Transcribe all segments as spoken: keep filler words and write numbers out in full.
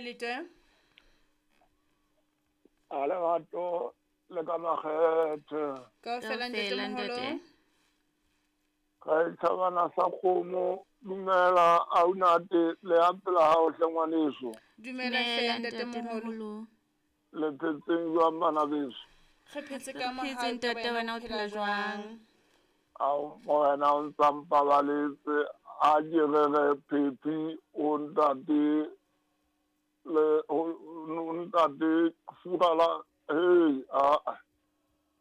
Maelete. A lerato le ka makgethe. Kaofela Kaofela, ntate ntate. moholo. Ga e tšhabana sa kgomo, dumela aunate le ya pela hao hle ngwaneso. Dumela hle Dumela, ntate ntate moholo. moholo. Le phetseng jwang bana beso? Re phetse Re ka phetse, mohau ntate, ka wena o phela jwang? Ao morena o ntsa mpabaletse a ke re re phephi o ntate le o o ntate Furala hey a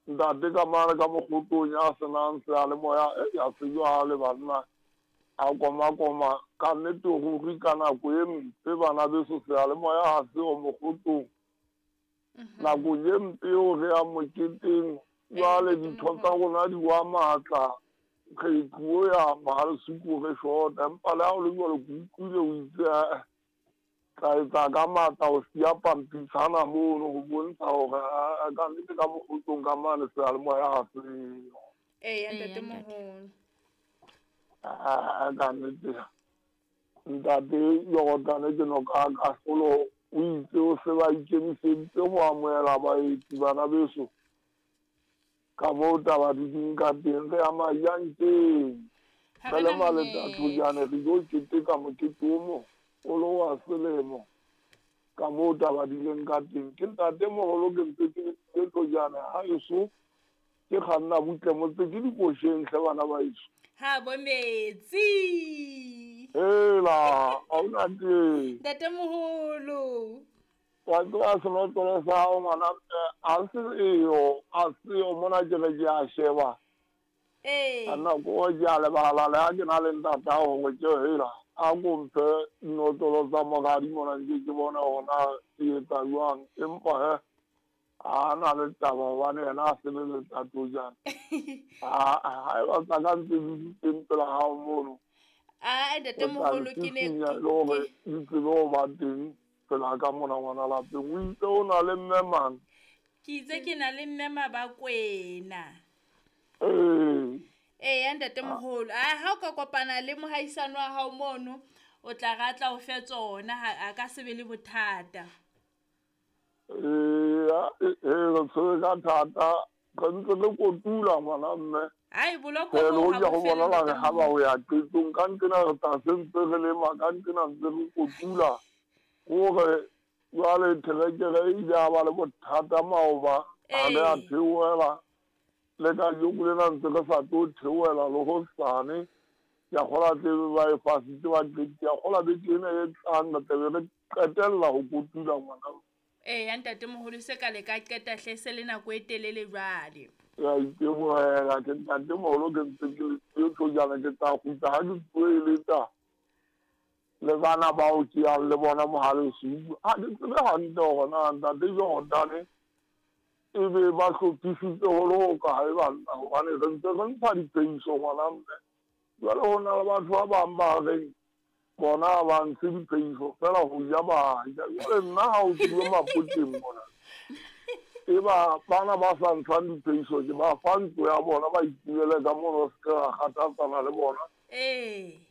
ntate ka mane ka mokgotong ya senang seyalemoya e ya se jwale banna a koma-koma ka nnete ruri ka nako e mpe bana beso seyalemoya ha seo mokgotong nakong e mpe eo re yang moketeng jwale ditho tsa rona di wa matla re tlo ya Mohalesuku re shota empa le ha o le jwalo ke utlwile o itse eh, tla etsa ka matla ho siya pampitshana mono ho bontsha hore ah, ka nnete ka mokgotong ka mane seyalemoya ha seo. Eya Eya, ntate ntate. moholo. Ah, ka nnete ntate Jordan ke no ka kahlolo o itse o se ba ikemiseditse ho amohela baeti bana beso ka moo taba di ding ka teng re ya Majankeng Ha re re le na maleta monyetla. thojane re tlo keteka mokete o mogolo wa selemo ka moo taba di leng ka teng ke ntate moholo ke ntse ke le thojane ha eso ke kganna butle motse ke dikosheng hle bana ba eso. Ha bo metsi. Hela ha ona teng. Ntate moholo. Wa tseba senotlolo sa hao ngwana mme ha se eyo ha seyo mona ke re ke a sheba Ee. ka nako e ke a lebala le ha ke na le ntatao hore ke hela a ko mphe dinotlolo tsa moradi mona nke ke bone hore na ke etsa jwang empa he ha na le taba hobane yena a sebeletsa tojana ha eba tsa ka ntse di le teng pela hao mono Ah ntate o tla moholo ke ne ntshisinya e le hore di tsebe ho ba teng pela ka mona ngwana lapeng o itse o na le mme mang ke itse ke na le mme Mabakwena. ee Eya ntate moholo. Ah ha o ka kopana le mohaisane wa hao mono o tla ratla o fe tsona ha a ka se be le bothata. Eya ee re tshwere ka thata re ntse re kotula ngwana mme Ai boloko le boo ha hoja bo ho fele bonahala ntate re ha ba moholo. ho ya qetong ka nqena re tla se ntse re lema ka nqena ntse re kotula hore jwale terekere e ile ya ba le bothata maoba ha re a Ee. theohela le kajeno lena ntse re sa tlo theohela le hosane ke a kgolwa tlebe ba e fasitse ba qetile ke a kgolwa beke ena e tlang re tlabe re qetella ho kotula ngwana. Eya ntate moholo se ka le ka qeta hle se le nako e telele jwale. Ke a itebohela ke ntate moholo ke ntse ke le siyo thojana ke tla kgutla ha ke tlo eletsa le bana bao ke yang le bona Mohalesuku ha ke tsebe hantle hore na ntate Jordan e be ba hlophisitse ho le hokae banna hobane re ntse re ntsha diphehiso ngwana mme jwale ho na le batho ba bang ba reng bona ha ba ntshe diphehiso feela ho ja ba ja jwale nna ha o tluwe mapoteng mona e ba bana ba sa ntshang diphehiso ke ba fa ntlo ya bona ba itumele ka mono se ke ra kgathatsana le bona Ee.